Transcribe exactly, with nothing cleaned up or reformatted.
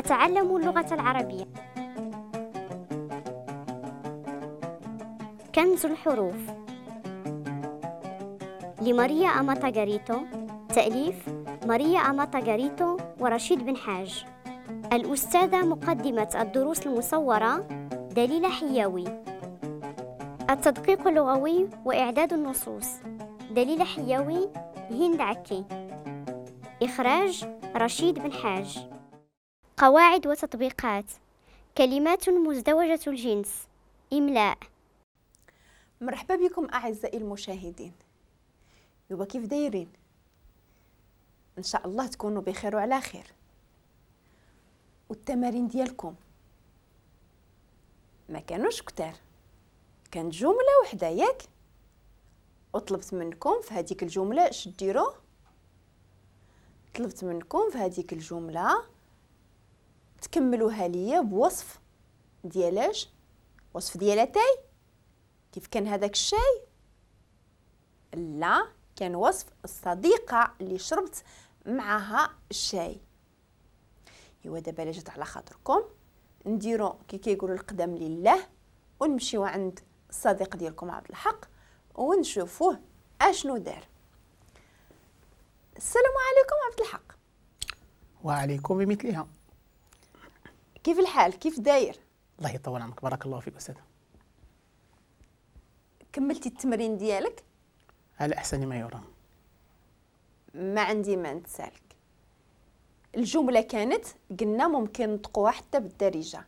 أتعلم اللغة العربية. كنز الحروف لماريا أماتاغاريتو، تأليف ماريا أماتاغاريتو ورشيد بن حاج. الأستاذة مقدمة الدروس المصورة دليلة حياوي. التدقيق اللغوي وإعداد النصوص دليلة حياوي، هند عكي. إخراج رشيد بن حاج. قواعد وتطبيقات، كلمات مزدوجة الجنس، إملاء. مرحبا بكم أعزائي المشاهدين. يبا كيف دايرين؟ إن شاء الله تكونوا بخير وعلى خير. والتمارين ديالكم ما كانوش كتار، كانت جملة وحدة ياك، وطلبت منكم في هذيك الجملة اش ديروا؟ طلبت منكم في هذيك الجملة تكملوها ليا بوصف ديالاش؟ وصف ديال اتاي. كيف كان هذاك الشاي؟ لا، كان وصف الصديقة اللي شربت معها الشاي. ايوا دابا الا جات على خاطركم نديرو كي كيقولوا القدم لله، ونمشيو عند الصديق ديالكم عبد الحق ونشوفوه اشنو دار. السلام عليكم عبد الحق. وعليكم بمثلها. كيف الحال؟ كيف داير؟ الله يطول عمرك، بارك الله فيك أستاذ. كملتي التمرين ديالك؟ على أحسن ما يرام. ما عندي ما نتسالك. الجملة كانت قلنا ممكن نطقوها حتى بالدارجة.